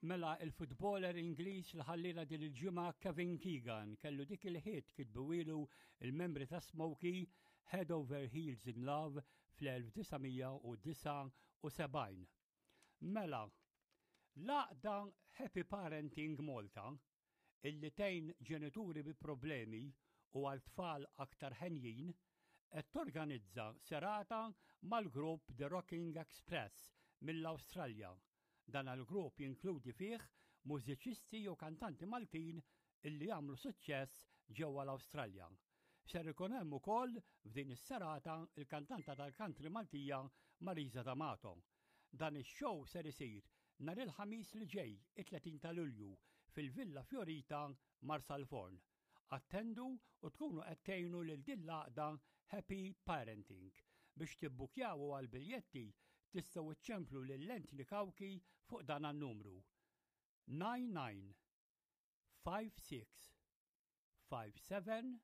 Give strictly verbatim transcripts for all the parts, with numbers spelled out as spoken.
Mela, il-futboler Ingliż li ħallina din il-ġimgħa, Kevin Keegan, kellu dik il-hit kitbuhielu il-membri ta' Smokie, "Head Over Heels in Love", fl-elf disa' mija u disgħa u sebgħin. Mela, l-għaqda Happy Parenting Malta, illi tgħin ġenituri bi problemi u għal tfal aktar ħenjin, qed torganizza serata mal-grupp The Rocking Express mill-Awstralja. Dan il-grupp jinkludi fih mużiċisti u kantanti Maltin illi jagħmlu suċċess ġewwa l-Awstralja. Ser ikun hemm ukoll f'din is-serata il-kantanta tal-country Maltija Marisa D'Amato. Dan ix-show ser isir nhar il-Ħamis li ġej, it-tletin ta' Lulju, fil-Villa Fiorita, Marsalforn. Attendu u tkunu qed tgħinu lil din l-għaqda Happy Parenting. Biex tibbukjaw għal biljetti tistgħu iċċemplu lil Anthony Cauchi fuq dan an-numru: nine nine five six five seven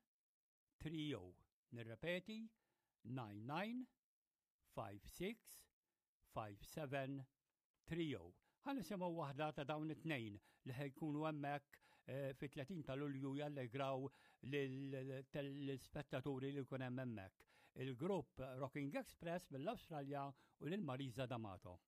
three zero. Nirrepeti: nine nine five six five seven three zero. Ħa nisimgħu waħda ta' dawn it-tnejn li ħa jkunu hemmhekk eh, fit-tletin ta' Lulju jallegraw l-spettaturi li jkun hemm hemmhekk. Il-grupp Rocking Express mill-Awstralja u lil Marisa D'Amato.